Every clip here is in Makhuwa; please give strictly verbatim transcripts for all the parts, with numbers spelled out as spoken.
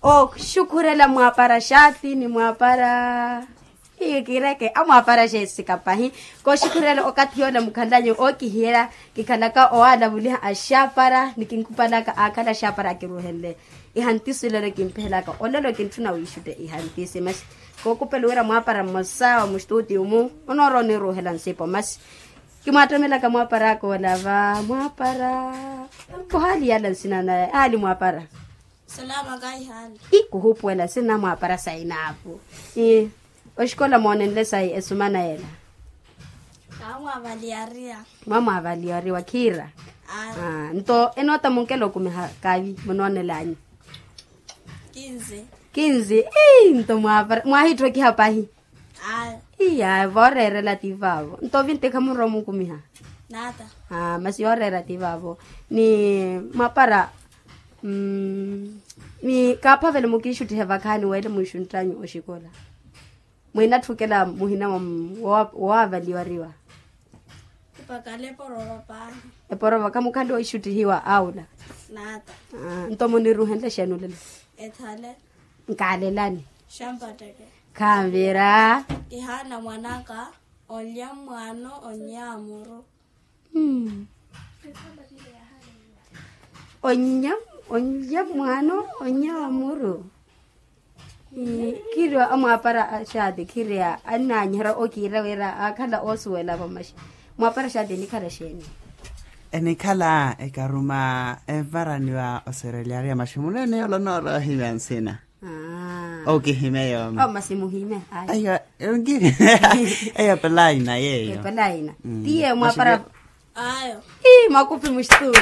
Oxukhurela mwaapara xaati ni mwaapara. Hiyo kiireke amwaapara xeesika pahi. Koxukhurela okathi yoola mukhalanyu ookihiyela kikhalaka owaalavuliha axaapara ni kinkupalaka aakhala axaapara akiruuhenle. Ihantisi olelo kimpehelaka olelo kintthuna wiixutte ihantisi masi. Kookupela wira mwaapara mmosa wa mustutiyu-mu onoorooniruuhela nsipo masi. Kimwaattomelaka mwaapara aka olava mwaapara. Kohaali yaala nsina naye haali mwaapara. Salama kahi haali. Ii kuhuupuwela nsina mwaapara sayi naapu. Ii. Oxikola moonenle sayi esumana yela. Kaamwaavaliyariya. Mwamwaavaliyariwa khiira. Nto enoota munkela okumiha kaavi munoonel'anyu? Kinzi. Kinzi. Ii nto mwaahitthwekiha pahi. Iya vooreerela ti vaavo nto vinti khamurwa omukumiha. Masi yooreera ti vaavo. Ni mwaapara. Ni kaaphavele mukiixuttihe vakhaani weele mwiixunttanyu oxikola. Mwiinatthukela muhina woowaavaliwariwa. Eporova khamukhale oixuttihiwa aula. Nto muniruuhenle xeeni olelo? Nkaalelani. Khanvira. Kihaana mwanaka onlya mwaano onnyaamuru. Onlya mwaano onnyaamuru. Khiriwa amwaapara axaati khiriya annaanyiherya okiira wira aakhala oosuwela vamaxi. Mwaapara axaati enikhala xeeni? Enikhala ekaruma envaraniwa oserelyariya maxi muneene yoola onoorowa ohimya nsina. Okihimya yooma. Masi muhimya. Ayo. Eyo pelaina yeyo. Pelaina. Tiye mwaapara. Ayo. Ii mwakupi muxituti.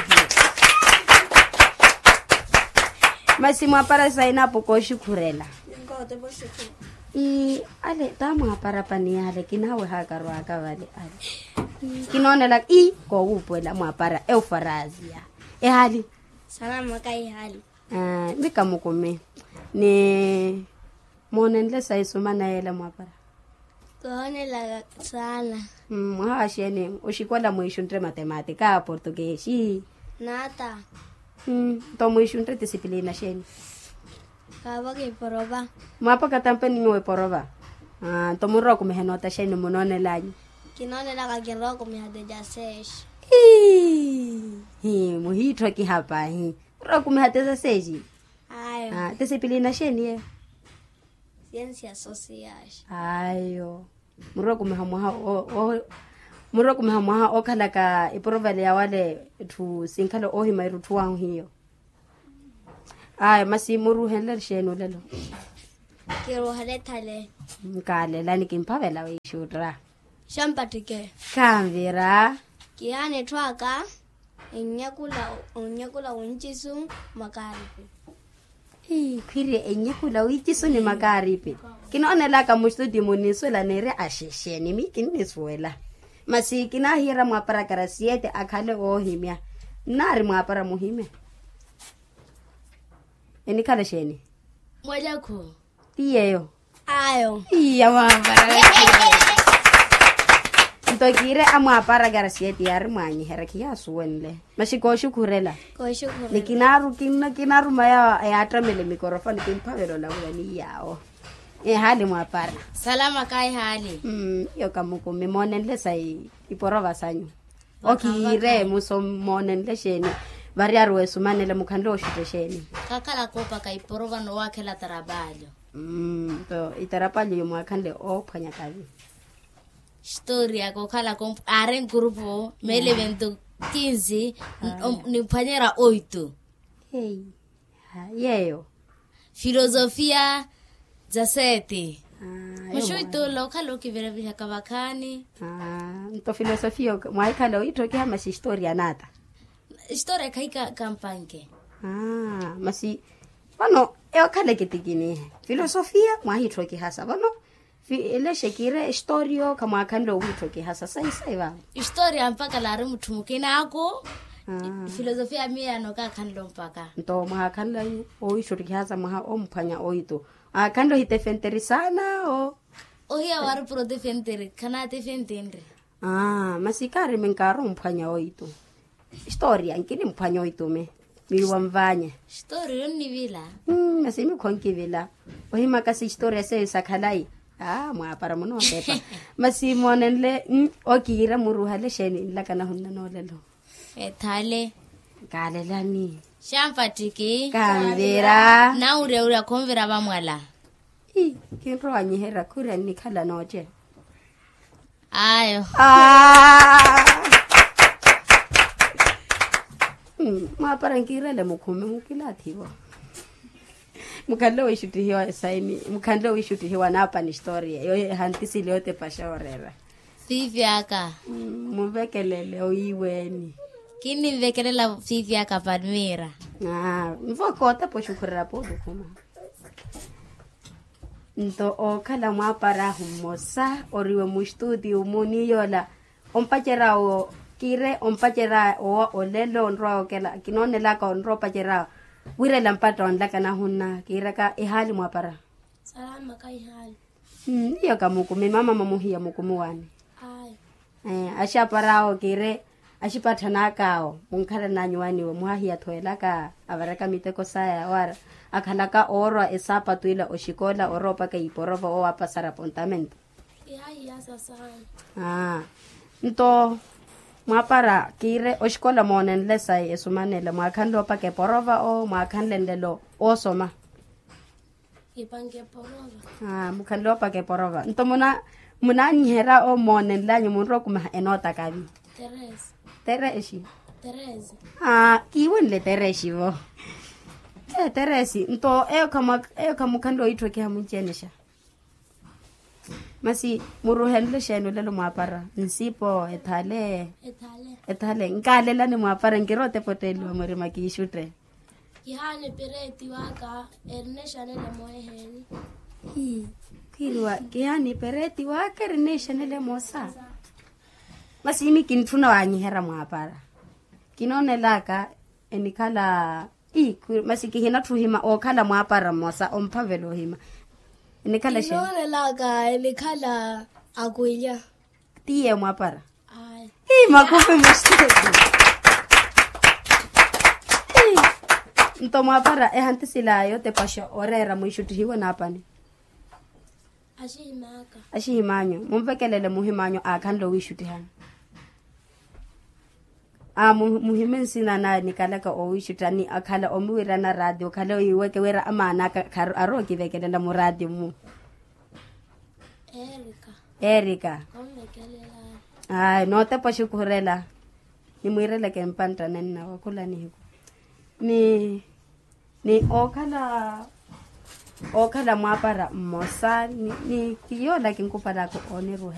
Masi mwaapara sainapu kooxukhurela. Ii. Ale ta mwaapara pani ale kinaawe hakarwaaka vale ale. Kinoonelaka ii koowuupuwela mwaapara eufarasiya. Ehali. Salama kaihali. Mika mukumi. Ni moonenle sayi sumana yeela mwaapara? Koonelaka saana. Mwaha wa xeeni oxikola mwiixuntte matematika portukeexi? Naata. Nto mwiixuntte tisipilina xeeni? Kaavo kiiporova. Mwaapaka tampe ni nyuwo eporova. Nto munrowa okumiha enoota xeeni munoonel'anyu? Kinoonelaka kinrowa okumiha tejaseexi. Hii. Muhiitthokiha pahi. Murookumiha tesaseexi? Ayo. Tesipilina xeeni yeyo? Siensia sosiyaxi. Ayo. Murookumiha mwaha. Murookumiha mwaha ookhalaka eporovale ya wale etthu sinkhala oohima erutthuwahu hiyo. Ayo masi muruuhenle xeeni olelo? Kiruuhele thale. Nkaalelani kimphavela wiixuutta. Xampattike. Khanvira. Kihaana etthu aka. Ennyakula onnyakula wincisu makaaripi. Khwiri ennyakula wincisu ni makaaripi. Kinoonelaka muxituti muniisuwela niiri axexeni mi kinnisuwela. Masi kinaahiyeerya mwaapara karasiyete akhale oohimya. Nnaari mwaapara muhimya. Enikhala xeeni? Mwalakhu. Ti yeeyo. Ayo. Iya mwaapara. Nto kiire amwaapara karasiyeti yaari mwaanyiherya khiyaasuwenle. Maxi kooxukhurela. Ni kinaaru kinna kinaaruma yaattamela emikorofoni kimphavela olavula ni yaawo. Ehaali mwaapara? Salama kayi haali. Iyo kamukumi moonenle sayi iporova sanyu. Okiire muso moonenle xeeni? Variyari weesumanela mukhanle oxutte xeeni? Kakhala koopaka iporova nowakhela tarapalyo. Nto itarapalyo yo mwaakhanle oophwanya kavi? Xitoria kookhala aari nkurupu meele eventu kinsi. Nimphwanyerya oitu. Yeeyo. Filosofia za sete. Muxuitula okhala okivirevihaka vakhaani. Nto filosofia mwaahikhala oitthokiha masi historia naata? Historia khayi kampanke. Masi vano eyo khale kitikinihe filosofia mwaahitthokiha sa vano. Elexe kiire historia khamwaakhanle owiitthokiha sa sayi sayi vano. Historia mpakha laari mutthu mukina aku. Filosofia miiyano kaakhanle ompaka. Nto mwahaakhanle owiitthokiha sa mwaha omphwanya oitu. Aakhanle ohitefenteri saana o. Ohiya waari puro tefenteri khanaatefentenre. Masi kaari minkaari omphwanya oitu. Historia nkinimphwanya oitu mi. Miiwa nvaanya. Xitooriyo nnivila. Masi mikho nkivila. Ohimaka si xitooriya seyo sa khalayi. Aa mwaapara munootepa. Masi moonenle okiira muruhale xeeni nlaka nahunna noolelo. Ethale. Kaalelani. Xampattiki kanvira. Nawuryawurya khunvira vamwala. Kinrowanyiherya khurya nnikhala nooce. Ayo. Mwaapara nkiirele mukhume mukilaathi-vo. Mukhanle wiixuttihiwa esaini mukhanle wiixuttihiwa naapani xitooriya eyo ehantisile yootepaxa oreera. Fiifi aka. Munvekelele oyiiweeni. Kinninvekelela fiifi aka palmiira. Nvo kootepa oxukhurerya poolukhuma. Nto ookhala mwaaparahu mmosa oriwe muxtuutiyu-mu ni yoola ompacerya wo kiire ompacerya owa olelo onrowa okela kinoonelaka onrowa opacerya wirela mpatta onlaka nahunna kiiraka ehaali mwaapara. Salama ka ihaali. Niyo ka mukumi mama mwamuhiya mukumi waani. Axapar'awo kiire axipatthanaak'awo munkhalan'anyu waniwe muhahiya-tho elaka avaraka miteko saya wara akhalaka oorwa esaapatu ila oxikola orowa opaka iporova owo apasara apontamento. Aa nto mwaapara kiire oxikola moonenle sayi esumanela mwaakhanle opaka eporova owo mwaakhanle nlelo oosoma. Mukhanle opaka eporova nto munanyiherya omoonenlanyu munrowa okumiha enoota kavi. Teresi. Kiiwenle teresi vo. Teresi nto eyo khamukhanle owiitthokiha munci-ene xa? Masi muruhenle xeeni olelo mwaapara nsipo ethale. Ethale nkaalelani mwaapara nkirowa otepotteeliwa murima kiixutte. Kihaani pereeti waka erinexanele moosa. Masi imi kintthuna wanyiherya mwaapara kinoonelaka enikhala. Masi kihinatthu ohima ookhala mwaapara mmosa omphavela ohima. Enikhala xeeni? Kinoonelaka enikhala akwilya. Tiye mwaapara. Makhupi muxeeti. Nto mwaapara ehantisila yootepaxa oreera mwiixuttihiwe naapani. Axihim'anyu munvekelele muhim'anyu aakhanle owiixuttihani. Muhime nsina na nikalaka owiixutta ni akhala omuwiirana raatiyo okhale oyiweke wira amaana aka arowa okivekelela muraatiyo-mu. Erika. Ayi nootepa oxukhurela. Nimwiireleke mpantta nenna wakhula nihiku. Ni ni ookhala ookhala mwaapara mmosa ni yoola kinkupalaka ooniruwa.